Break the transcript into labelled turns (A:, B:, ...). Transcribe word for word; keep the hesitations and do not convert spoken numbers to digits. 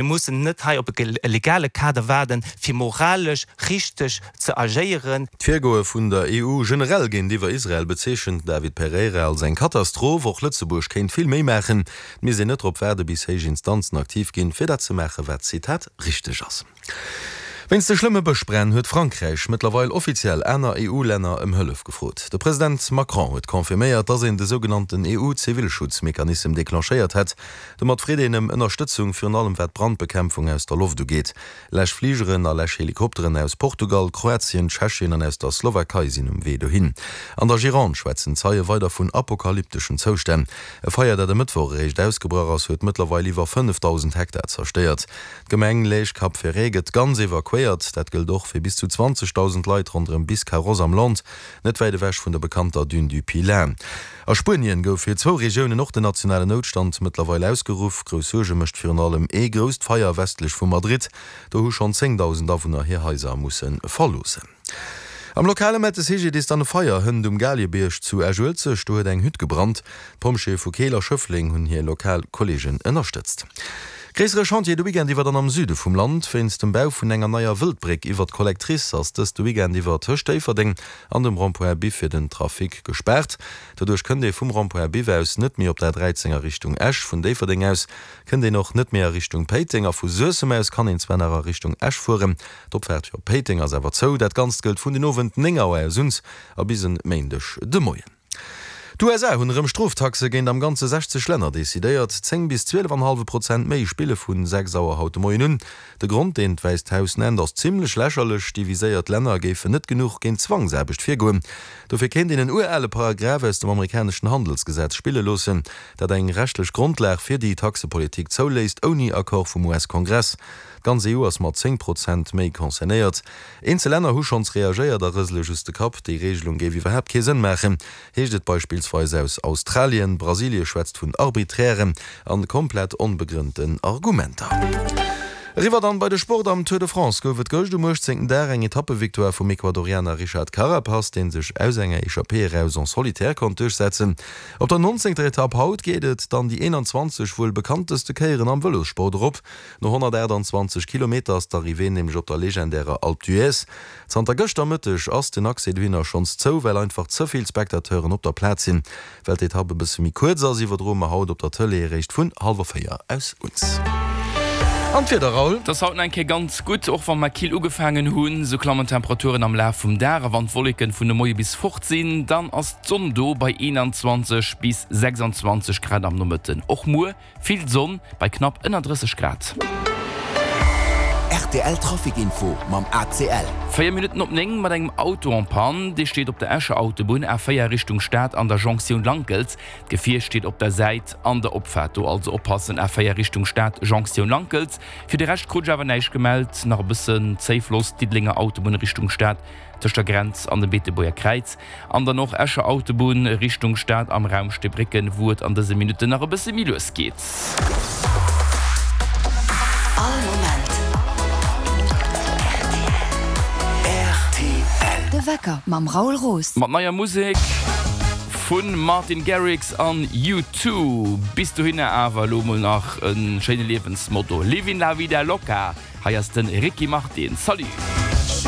A: Mir mussen net hei op e legale Kader waarden, fir moralesch richteg ze agéieren.
B: D'Virgoe vun der E U generell géintiwwer Israel bezeechent den David Pereira als eng Katastroph. Och Lëtzebuerg kéint vill méi maachen. Et misst een net drop waarde bis héich Instanzen aktiv ginn, fir dat ze maachen, wat, Zitat, richteg ass. Wéinst de schlëmme Bëschbränn huet Frankräich mëttlerweil offiziell aner E U-Länner ëm Hëllef gefrot. De President Macron huet confirméiert, datt een de sougenannten E U-Zivilschutzmechanism declenchéiert hätt. Domat freet een ëm Ënnerstëtzung, virun allem wat d'Brandbekämpfung aus der Loft ugeet. Läschfligeren a Läschhelikopteren aus Portugal, Kroatien, Tschechien an aus der Slowakei sinn um Wee dohin. An der Gironde schwätzen Zeie weider vun apokalypteschen Zoustänn. E Feier, dat e Mëttwoch eréischt ausgebrach ass, huet mëttlerweil iwwer fënnefdausend Hektar zerstéiert. D'Gemeng Lège-Cap-Ferret gëtt ganz evakuéiert. Dat gëllt och fir bis zu zwanzegdausend Leit ronderëm Biscarrosse am Land, net wäit ewech vun der bekannter Dune du Pilat. A Spuenien gouf fir zwou Regiounen och den nationalen Noutstand mëttlerweil ausgeruff. Grouss Suerge mécht virun allem ee grousst Feier westlech vu Madrid. Do hu schonn zéngdausend Awunner hir Haiser musse verloossen. Am Lokale mellt de C G D I S dann e Feier hënt um Galiebierg zu Esch-Uelzecht. Do huet eng Hütt gebrannt. D'Pompjeeë vu Keel a Schëffleng hunn hir lokal Kolleegen ënnerstëtzt. Gréissere Chantier de Weekend iwwer dann am Süde vum Land. Wéinst dem Bau vun enger neier Wëldbréck iwwer d'Collectrice ass dës de Weekend iwwer tëscht Déifferdeng an dem Rond-point Biff fir den Trafic gespaart. Doduerch kënnt ee vum Rond-point Biff aus net méi op der dräizéng a Richtung Esch. Vun Déifferdeng aus kënnt een och net méi a Richtung Péiteng a vu Suessem aus kann een zwar nach a Richtung Esch fueren. D'Opfaart fir op Péiteng ass awer zou. Dat Ganzt gëllt vun den Owend néng Auer aus un a bis en Méindeg de Moien. D'U S A hunn erëm Stroftaxe géint am Ganze sechzeg Länner decidéiert. Zéng bis zwielef an hallwe Prozent méi spille vu sechs Auer haut de Moien un. De Grond, deen d'Wäisst Haus nennt, ass zimmlech lächerlech, Déi viséiert Länner géifen net genuch géint Zwangsaarbecht virgoen. Dofir kéint een en urale Paragraph aus dem amerikaneschen Handelsgesetz spille loossen, dat eng rechtlech Grondlag fir déi Taxepolitik zouléisst, ouni Accord vum U S-Kongress. D'ganz E U ass mat zéng Prozent méi concernéiert. Eenzel Länner hu schonns reagéiert a rësele just de Kapp. Déi Reegelung géif iwwerhaapt kee Sënn maachen, heescht et beispillsweis aus Australien. Brasilie schwätzt vun arbiträren an komplett onbegrënnten Argumenter. Eriwwer dann bei de Sport. Am Tour de France gouf et gëscht um uechtzéngten Dag eng Etappevictoire vum Ecuadorianer Richard Carapaz, dee sech aus enger Echappée eraus en solitaire konnt duerchsetzen. Op der nonzéngter Etapp haut geet et dann déi eenanzwanzeg wuel bekannteste Kéieren am Vëlossport erop. No honnertaachtanzwanzeg Kilometer ass d'Arrivée nämlech op der legendärer Alpe d'Huez. Zanter gëschter Mëtteg ass den Accès dohinner schonns zou, well einfach ze vill Spectateuren op der Plaz sinn. Well d'Etapp e bësse méi kuerz ass, iwwerdroe mer haut op der Tëlee eréischt vun hallwer véier aus uns. An d'Wieder, Raoul?
C: Et ass haut nach eng Kéier ganz gutt, och wa mer kill ugefaangen hunn. Sou klammen d'Temperaturen am Laf vum Dag a wann d'Wolleken vun de Moie bis fort sinn, dann ass d'Sonn do bei eenanzwanzeg bis sechsanzwanzeg Grad am Nomëtten. Och muer vill Sonn bei knapp ënner drësseg Grad.
D: R T L Trafic Info mam A C L.
C: Véier Minutten op néng mat engem Auto en panne. Dee steet op der Escher Autobunn A véier Richtung Stad an der Jonktioun Lankels. D'Gefier steet op der Säit an der Opfaart. Do also oppassen, A véier Richtung Stad, Jonktioun Lankels. Fir de Rescht krut ech awer näischt gemellt. Nach e bëssen Zéifloss, Diddelenger Autobunn Richtung Stad tëscht der Grenz an dem Beetebuerger Kräiz. An dann och Escher Autobunn Richtung Stad am Raum Steebrécken, wou et an dëse Minutten nach e bësse méi lues geet.
E: All Moment.
D: R T L.
E: De Wecker mam Raoul Roos.
C: Mat neier Musek vun Martin Garrix an U two. Bis dohinner awer elo mol nach e schéine Liewensmotto: Livin' la vida loca. Hei ass de Ricky Martin. Salut!